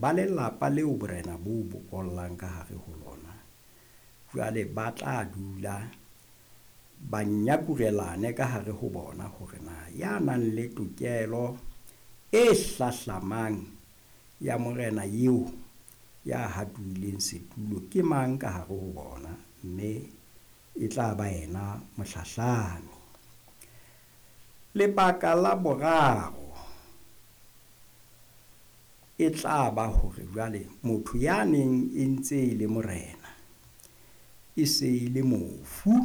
Ba lelapa leo borena bo bokollang ka hare ho lona, jwale ba tla dula ba nyakurelane ka hare ho bona hore na ya nang le tokelo e hlahlamang ya morena eo ya hatuwileng setulo ke mang ka hare ho bona, mme e tla ba yena mohlahlami. Lebaka la boraro e tla ba hore jwale motho ya neng e ntse e le morena e se e le mofu,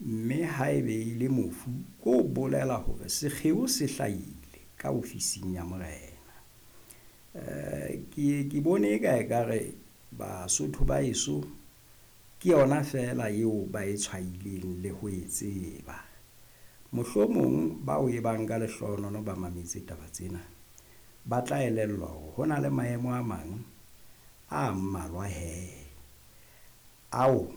mme haebe e le mofu ko bolela hore sekgeo se hlahile ka ofising ya morena. Ke bone e ka ekare Basotho ba heso ke yona feela eo ba e tshwaileng le ho e tseba. Mohlomong bao e bang ka lehlohonolo ba mametse taba tsena, ba tla elellwa hore ho na le maemo a mang a mmalwa hee ao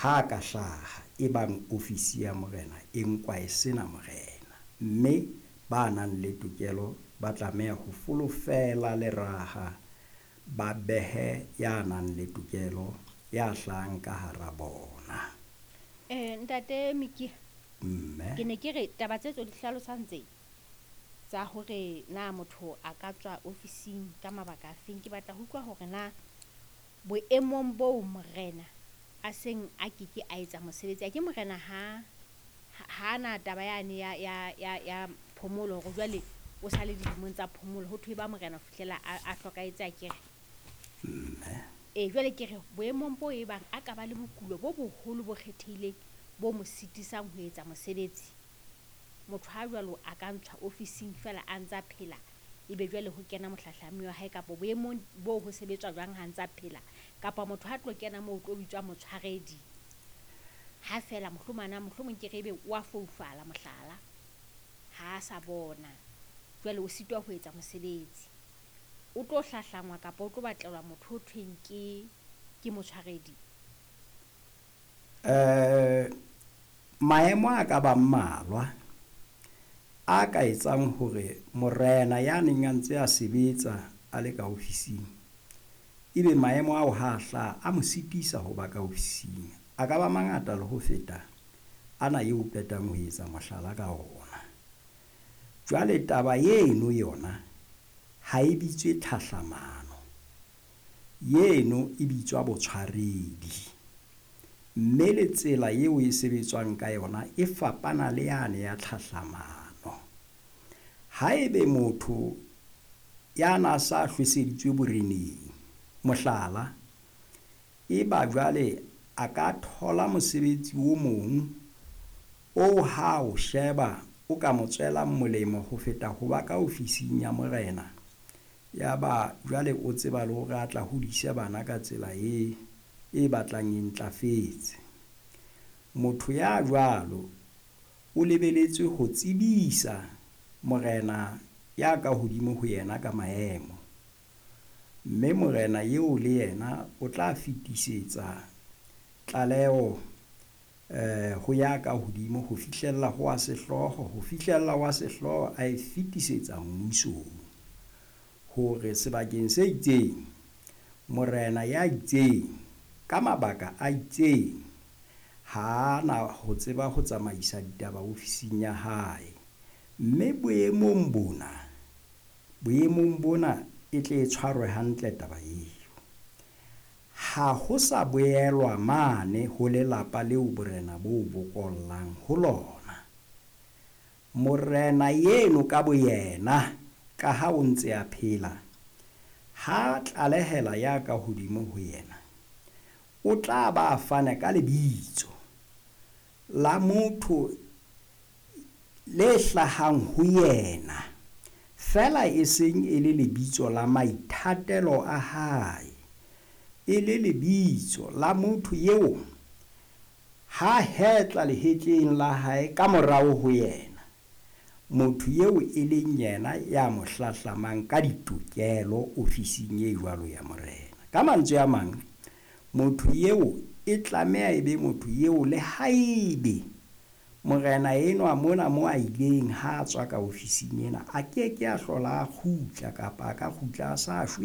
ha ka hlaha e bang ofisi ya morena e nkwa e sena morena, mme ba nang le tokelo ba tlameha ho folofela leraha, ba behe ya nang le tokelo ya hlahang ka hara bona. Ntate Mikia, Mme. ke ne ke re taba tse tso di hlalosang tse tsa hore na motho a ka tswa ofising ka mabaka a feng, ke batla ho utlwa hore na boemong boo morena a seng a keke a etsa mosebetsi. A ke morena ha na taba yane ya phomolo hore jwale o sa le dilemong tsa phomolo, ho thwe ba morena ho fihlela a hlokahetse akere. Mme. Ee, jwale ke re boemong bo e bang a ka ba le bokulo bo boholo bo kgethehileng bo mo sitisang ho etsa mosebetsi. Motho ha jwalo a ka ntshwa ofising feela a ntsa phela, ebe jwale ho kena mohlahlami wa hae kapa boemong bo ho sebetswa jwang ha ntsa phela, kapa motho ha tlo kena moo o tlo bitswa motshwaredi. Ha feela mohlomong mohlomong ke re ebe wa foufala mohlala, ha sa bona jwale o sitwa ho etsa mosebetsi. O tlo hlahlangwa kapa o tlo batlelwa motho ho thweng ke motshwaredi. Maemo a ka ba mmalwa a ka etsang hore morena ya neng a ntse a sebetsa a le ka ofising, ebe maemo ao ha hlaha a mo sitisa ho ba ka ofising. A ka ba mangata le ho feta ana eo qetang ho etsa mohlala ka ona. Jwale taba eno yona ha e bitswe tlhahlamano, eno e bitswa botshwaredi. Mme le tsela eo e sebetswang ka yona e fapana le yane ya tlhahlamano. Haebe motho ya na sa hlweseditswe boreneng, mohlala, e ba jwale a ka thola mosebetsi o mong o ha o sheba o ka mo tswelang molemo ho feta ho ba ka ofising ya morena, ya ba jwale o tseba le hore a tla hodise bana ka tsela e batlang e ntlafetse. Motho ya jwalo o lebeletswe ho tsebisa morena ya ka hodimo ho yena ka maemo, mme morena eo le yena o tla fetisetsa tlaleho ho ya ka hodimo ho fihlella ho wa sehlooho, ho fihlella wa sehlooho a e fetisetsa mmusong hore sebakeng se itseng morena ya itseng ka mabaka a itseng ha na ho tseba ho tsamaisa ditaba ofising ya hae. Mme boemong bona e tle e tshwarwe hantle taba eo. Ha ho sa boelwa mane ho lelapa leo borena bo bokollang ho lona. Morena eno ka boyena, ka ha o ntse a phela, ha tlalehela ya ka hodimo ho yena, o tla ba fane ka lebitso la motho le hlahang ho yena, feela e seng e le lebitso la maithatelo a hae, e le lebitso la motho eo ha hetla lehetleng la hae ka morao ho yena, motho eo e leng yena ya mo hlahlamang ka ditokelo ofising e jwalo ya morena. Ka mantswe a mang, motho eo e tlameha e be motho eo le haebe Morena enwa mona mo a ileng ha a tswa ka ofising ena, a ke ke a hlola a kgutla kapa a ka kgutla a sa shwele.